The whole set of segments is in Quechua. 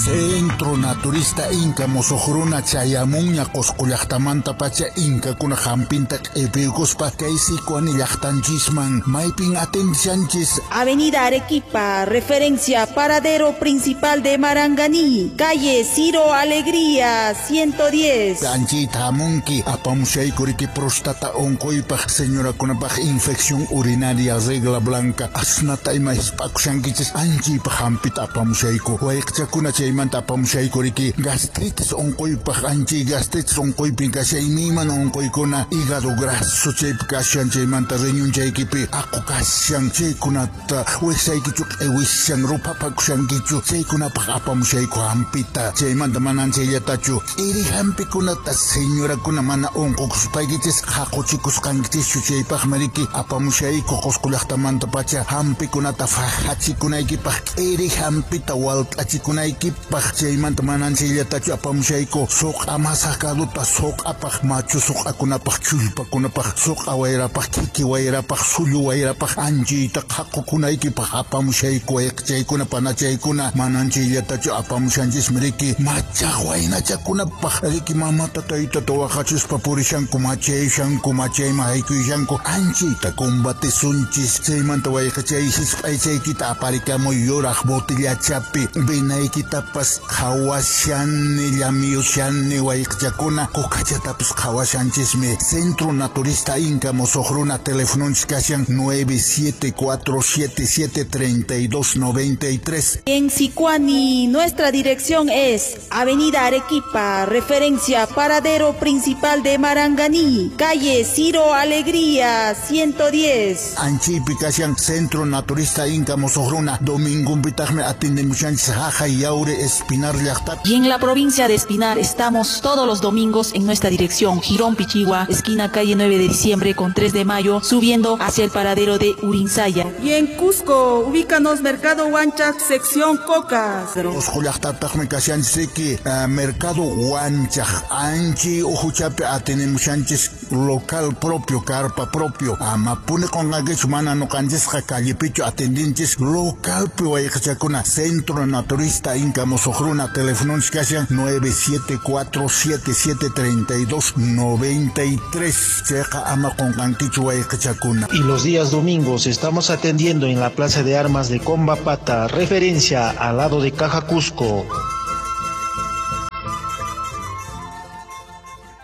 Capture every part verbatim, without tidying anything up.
Centro Naturista Inca Musuqruna chayamunña Qusqu llaqtamantapacha Inkakuna hampinta q'ipiykuspa kay Sicuani llaqtanchisman maypin atendishanchis. Avenida Arequipa, referencia paradero principal de Maranganí, calle Ciro Alegría, ciento diez. Anchita hamunki apamushayku riki próstata unquypaq señorakunapaq infección urinaria regla blanca asnata ima hisp'akushankichis anchaypaq hampita apamushayku wayqichakuna chaymanta apamushayku riki gastritis unquypaq anchay gastritis unquypin kashan imaymana unquykuna hígado graso chaypi kashan chaymanta riñunchaykipi aqu kashan chaykunata wiksaykichu q'iwishan ruphapakushankichu chaykunapaq apamushayku hampita chaymanta manan chayllatachu k'iri hampikunata señorakuna mana unqukuspaykichis haquchikusqankichischu chaypaqmi riki apamushayku Qusqu llaqtamantapacha hampikunata fajachikunaykipaq k'iri hampita walt'achikunaykipaq chaymanta manan chayllatachu apamushayku suq'a masakaduta suq'apaq machu suq'akunapaq chullpakunapaq suq'a wayrapaq kiki wayrapaq sullu wayrapaq anchayta qhaqukunaykipaq apamushayku wayqichaykuna panachaykuna manan chayllatachu apamushanchismi riki machaq waynachakunapaq riki mamata taytata waqachispa purishanku machayushanku machayman haykuyushanku anchayta combatisunchis chaymanta wayqichay hisp'aychaykita aparikamuy yuraq botillachapi vinaykitapas qhawashani llamiyushani wayqichakuna kukachatapis qhawashanchismi. Centro Naturista Inca Musuqruna telefononchis kashan nueve siete cuatro siete siete treinta y dos noventa y tres. En Sicuani, nuestra dirección es Avenida Arequipa, referencia paradero principal de Maranganí, calle Ciro Alegría, ciento diez. Anchaypi kashan Centro Naturista Inca Musuqruna domingunpitaqmi atendemushanchis Jajay Yaure Espinar llaqtapi. Y en la provincia de Espinar estamos todos los domingos en nuestra dirección, Jirón Pichigua, esquina calle nueve de diciembre con tres de mayo, subiendo hacia el paradero de Urinsaya. Y en Cusco, ubícanos Mercado Huanchac, sección Cocas. Qusqu llaqtataqmi kashanchis riki uh, Mercado Huanchac, anchi uhuchapi atendemushanchis local propio, carpa propio. Amapuni qunqankichu mana nuqanchisqa callepichu atendinchis localpi wayqichakuna. Centro Naturista Inca Musuqruna telefononchis kashan nueve siete cuatro siete siete treinta y dos noventa y tres. Chayqa ama qunqankichu wayqichakuna. Y los días domingos estamos atendiendo en la Plaza de Armas de Combapata, referencia al lado de Caja Cusco.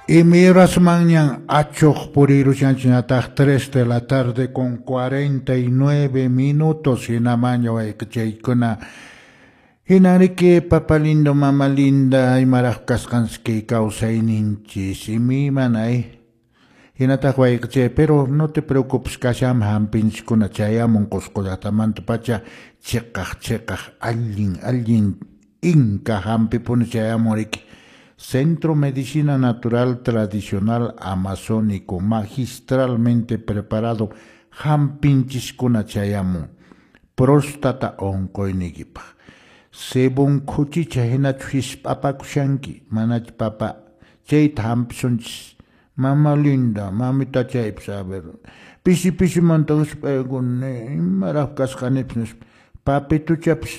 Y miras mañana achuq purirushanchis tres de la tarde con cuarenta y nueve minutos hinamaña wayqichaykuna. Hinariki papa lindo, mama linda, imaraq kasqanchis kawsayninchis imaymanay. Hinataq wayqichay, pero no te preocupes, kasham hampinchiskuna chayamun Qusqu llaqtamantapacha chiqaq chiqaq allin allin inka hampipuni chayamun riki. Centro Medicina Natural Tradicional Amazónico, magistralmente preparado, hampinchiskuna chayamun, próstata unquyniykipaq. Sebun khuchicha hinachu hisp'apakushanki, manachu papa, chayta hampisunchis. Mama linda, mamita chaypis, a ver, pisi pisimanta hisp'aykuni, imaraq kasqanipis nispa, papituchapis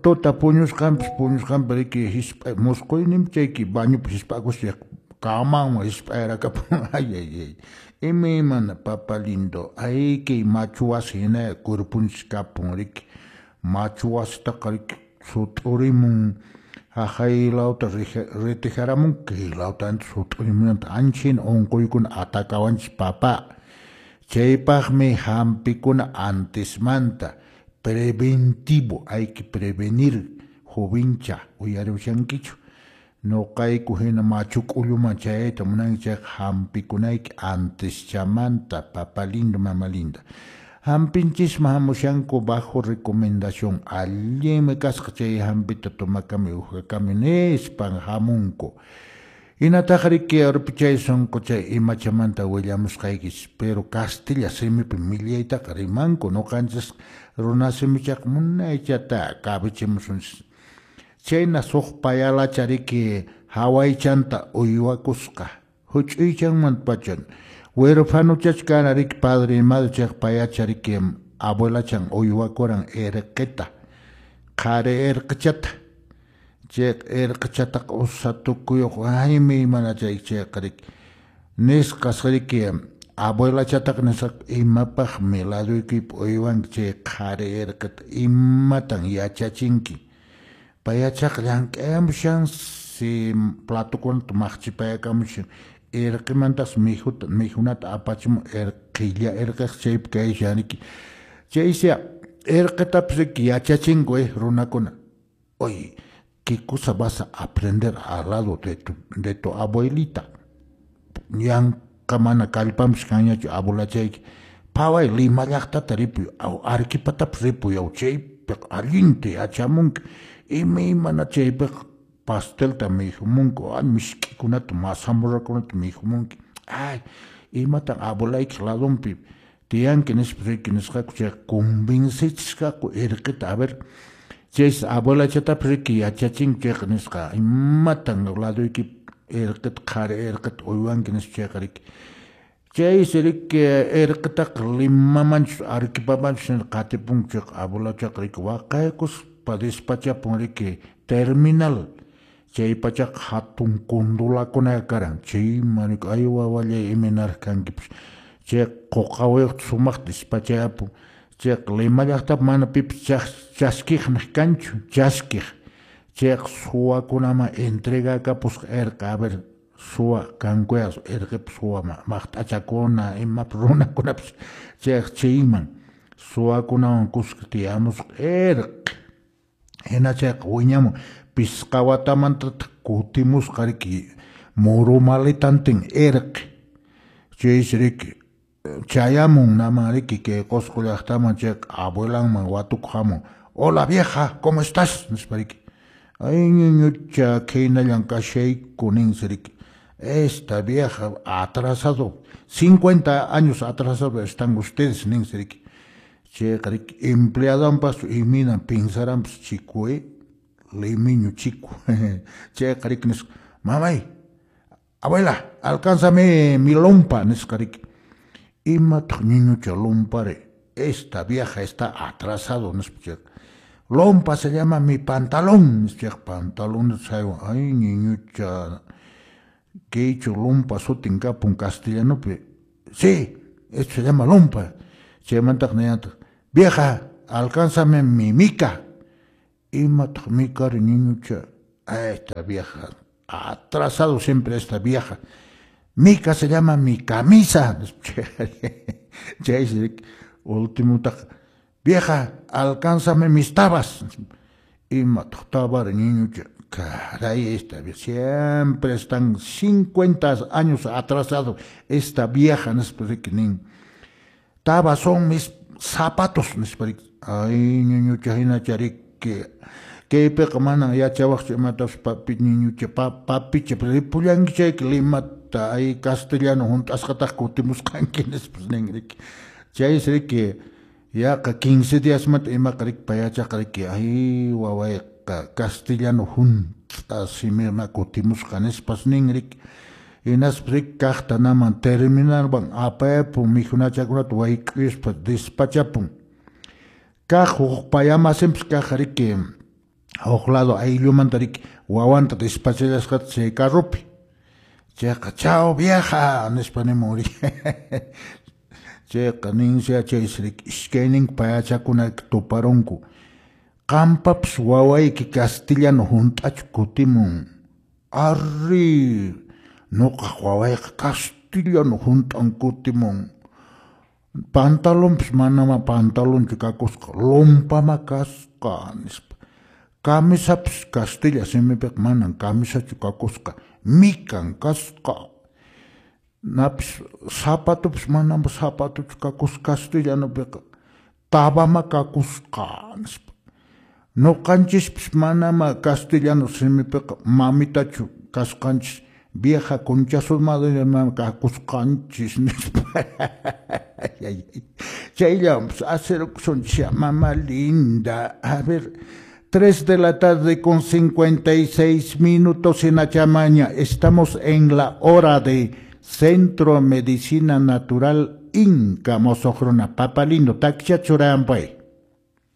tota puñusqanpis puñusqanpi riki hisp'a musquyninpi chayki bañupi hisp'akuspa kamanwan hisp'ayrakapun. Ay ay ay, imaymana papa lindo, ay kay machu wasi hina kurpunchis kapun riki, machu wasitaqa riki sut'urimun haqay lawta retijaramun kay lawta sut'urimunanta ancha hina unquykuna atakawanchis papa. Chaypaqmi hampikuna antesmanta preventivo, hay que prevenir, jovencha, uyarishankichu. Noqayku hina machu k'ulluman chayayta munanki chayqa hampikunayki anteschamanta, papa lindo, mama linda. Hampinchisman hamushanku bajo recomendación, allinmi kasqa chay hampita tomakami uhyakami nispan hamunku. Hinataq riki urpichay sunquchay imachamanta willamusqaykis, pero castilla simipi millaytaqa rimanku, nuqanchis runa simichaqa munaychata kabichimusunchis. Chayna suq payalacha riki hawaychanta uywakusqa, huch'uychanmanta pachan. Huerfanuchach kana riki padre y madre chayqa payacha riki abuelachan uywakuran irqita, qhari irqichata. Chayqa irqichataqa usa tukuyuq aymi mana chay chayqa riki nisqas riki abuelachataqa nisqa imapaqmi laduykipi uywanki chay qhari irqita imatan yachachinki payachaqa llank'ayamushansi platokunata maqchipayakamushan irqimantas mijuta mijunata apachimun irqilla irqiq chaypi kayshan riki chaysi irqitapas riki yachachinku eh runakuna oye ¿qué cosa vas a aprender al lado de tu, de tu abuelita? Yanqa mana kallpanpis kanñachu abuelachayki phaway Lima llaqtata ripuy aw Arequipatapas ripuy aw chaypiqa allinta yachamunki imaymana chaypiqa pastelta mijumunku ay misk'ikunata mazamorrakunata mijumunki ay imatan abuelaykiq ladunpi tiyanki nispa riki nisqaku chayqa convencichisqaku irqita a ver chaysi abuelachatapas riki yachachinki chayqa nisqa imatan laduykipi irqita qhari irqita uywanki nispa chayqa riki chaysi riki irqitaqa Limamanchus Arequipamanchus qatipunku chayqa abuelachaqa riki waqaykuspa despachapun riki terminal chay pachaqa hatun kundulakuna karan chayman riki ay wawallay imaynaraq kankipas chayqa quqawayuqta sumaqta despachayapun chayqa Lima llaqtapi mana pipas chaskiqniq kanchu chaskiq chayqa suwakunaman entregakapusqa irqi a ver suwa kankuya irqipa suwa maqt'achakuna imapas runakunapas chayqa chayman suwakunawan kuska tiyamusqa irqi hina chayqa wiñamun pisqa watamantataq kutimusqa riki muru maletantin irqi chaysi riki chayamun naman riki kay Qusqu llaqtaman chayqa abuelanman watukuq hamun hola vieja ¿cómo estás? Nispa riki ay ñuñucha khaynallan kashayku ninsi riki esta vieja atrasado cincuenta años atrasado están ustedes ninsi riki chayqa riki empleadonpas imaynan pensaranpas chico eh limeño chico chayqa riki nisqa mamay abuela alcánzame mi lompa nisqa riki imataq ñuñucha lompari esta vieja está atrasado nispa chayqa lompa se llama mi pantalón nispa chayqa pantalón saywan ay ñuñucha kaychu lompa sutin kapun castellanopi sí esto se llama lompa chaymantaq niyantaq vieja alcánzame mi mica imataq micari ñuñucha esta vieja atrasado siempre esta vieja mica se llama mi camisa chaysi ultimotaq vieja alcánzame mis tabas imataq tabari ñuñucha caray esta siempre están cincuenta años atrasado esta vieja nispa riki nin tabas son mis zapatos nispa riki ay ñuñucha hinacha riki kaypiqa manan yachawaqchu imatapas papi ñuñucha papicha ripullanki chayki Limata ay castellano hunt'asqataq kutimusqanki nispas nin riki chaysi riki yaqa quince diasmanta imaqa riki payachaqa riki ay wawayqa castellano hunt'a simima kutimusqa nispas nin riki hinaspa riki kaqta naman terminalman apayapun mijunachakunata wayk'uyuspa despachapun kaq huk payamasinpas kaq riki huk lado ayllumanta riki wawanta despachallasqata chay carropi chayqa chao vieja nispa nimun riki chayqa ninsi chaysi riki iskayninku payachakuna tuparunku qampapas wawayki castellano hunt'achu kutimun arri nuqaq wawayqa castellano hunt'an kutimun pantalonpas manama pantalonchu kakusqa lompama kasqa nispa camisapas castilla simipiqa manan camisachu kakusqa mikan kasqa napis zapatopas manam zapatochu kakusqa castellanopiqa tabama kakusqa nispa nuqanchispas manama castellano simipiqa mamitachu kasqanchis vieja concha su madre kakusqanchis nispa chayllawanpas hacerukusunchis mama linda a ver tres de la tarde con cincuenta y seis minutos en Achamaña. Estamos en la hora de Centro Medicina Natural Inca Mosojrona. Papa lindo, taksha churampay.